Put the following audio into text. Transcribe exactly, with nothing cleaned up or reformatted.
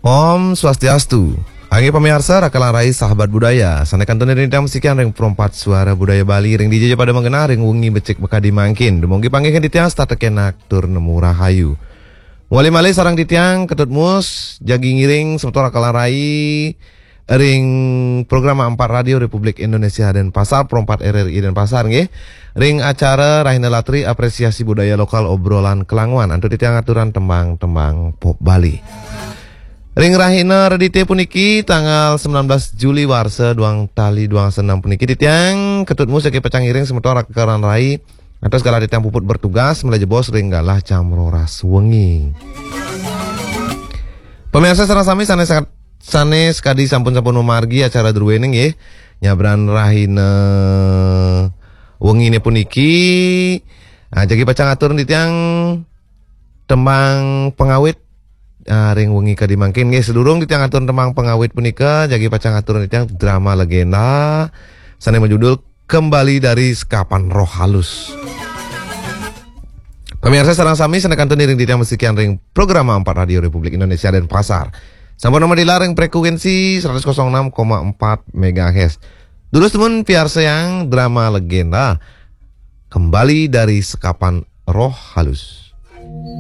Om Swastiastu. Inggih pamiarsa, rakalan rai sahabat budaya. Sané kantun ring titiang masikian ring Perempat Suara Budaya Bali ring dija pada magenah ring wengi becik makadi mangkin. Dumugi panggih titiang setata kenak tur nemu rahayu. Malih-malih sareng titiang Ketut Mus, jagi ngiring semeton rakalan rai ring program Ampat Radio Republik Indonesia Denpasar, Perempat R R I Denpasar nggih. Ring acara Rahina Latri Apresiasi Budaya Lokal Obrolan Kelanguan, antuk titiang aturan tembang-tembang pop Bali. Ring rahina Redité puniki tanggal sembilan belas Juli warsa duang tali duang dasa enam puniki titiang Ketut Mus jagi pacang ngiring semeton rakalan rai antuk segala titiang puput bertugas malih jebos ring galah jam roras wengi. Pamiarsa sareng sami sané, sané sakadi sampun-sampun mamargi acara druéné nggih. Nyabran rahina wenginé puniki, ah, jagi pacang atur titiang tembang pangawit, ah, ring wengi kadi mangkin nggih. Sadurung titiang atur tembang pangawit punika, jagi pacang atur titiang drama legenda sané majudul Kembali dari Sekapan Roh Halus. Pamiarsa sareng sami sané kantun ngiring titiang masikian ring program Ampat Radio Republik Indonesia Denpasar. Sampun madilar ring frekuensi seratus kosong enam koma empat megahertz. Durus dumun piarsayang drama legenda Kembali dari Sekapan Roh Halus.